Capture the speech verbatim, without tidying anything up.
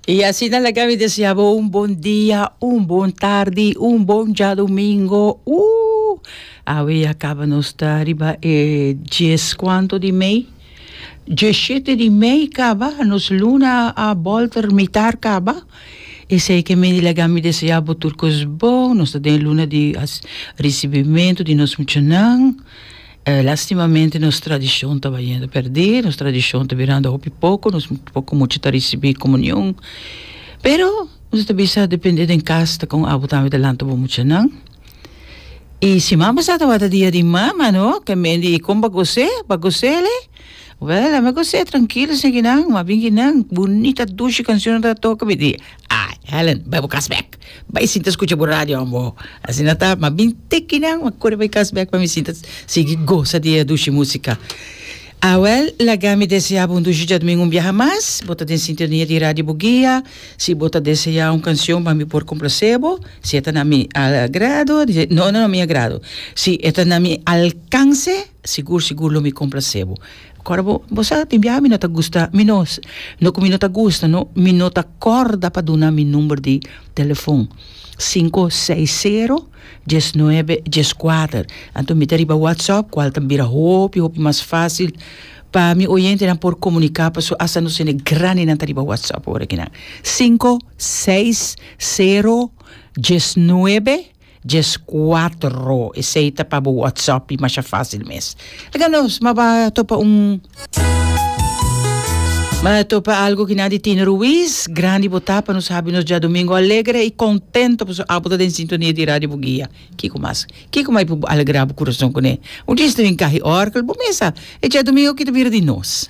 I asina laga mi desea bo un bon dia, un bon tardi, un bon djadumingo. Uh! Awe ya kaba nos ta riba e dies kuantu di mei? Diesshete di mei kaba, nos luna a bolter mitar kaba. Esei ke meni laga mi desea bo tur kos bon. Nos ta den luna di risibimentu di nos muchanan. Eh, lastimamente nos tradishon ta bayendo pèrdí, nos tradishon ta birando hopi poko, nos poko mucha ta risibí komunion. Pero nos ta bisa dependé den kas ta kon abo tambe ta lanta bo muchanan. I siman pasá tabata dia di mama, no? Ke men di kon bo a gos'é? Bo a gos'é le? Wèl, ami a gos'é trankilo esaki-nan, m'a bin kinan, bunita dushi kanshon ta toka, mi di, ai, Helen, bai bo kas bèk. Bai sinta skucha bo radio ambo. Asina ta, m'a bin te kinan, m'a kore bai kas bèk pa mi sinta sigui gosa di e dushi músika. Awèl, laga mi deseá bo un dushi djadumingu un biaha mas. Bo ta den sintonia di Radio Boguia. Si bo ta deseá un kanshon pa mi por komplasé bo, si e ta na mi agrado, no, no na mi agrado, si e ta na mi alkanse, sigur sigur lo mi komplasé bo. Kòrda bo, bo sa tin biaha mi no ta gusta, mi no, no ku mi no ta gusta no, mi no ta kòrda pa duna mi number di telefon, sinku seis sero dies nuebe dies kuater. Anto mi ta riba WhatsApp kual ta bira hopi hopi mas fásil pa mi oyentenan por komuniká pasobra asta nos hende grandinan ta riba WhatsApp ora kinan. Sinku seis sero dies nuebe Djes cuatro, esey ta pa bo WhatsApp y masha facil mes. Laga nos, ma ba topa un Ma topa algo ki nan di Tino Ruiz, grandi bo ta pa nos habi nos djadomingo alegre y contento pasobra abo ta den sintonia di Radio Bugia. Kiko mas? Kiko mai por alegra bo curason cune? Un djis ta bin cahi orkel bo mesa, e djadomingo ki ta bira di nos.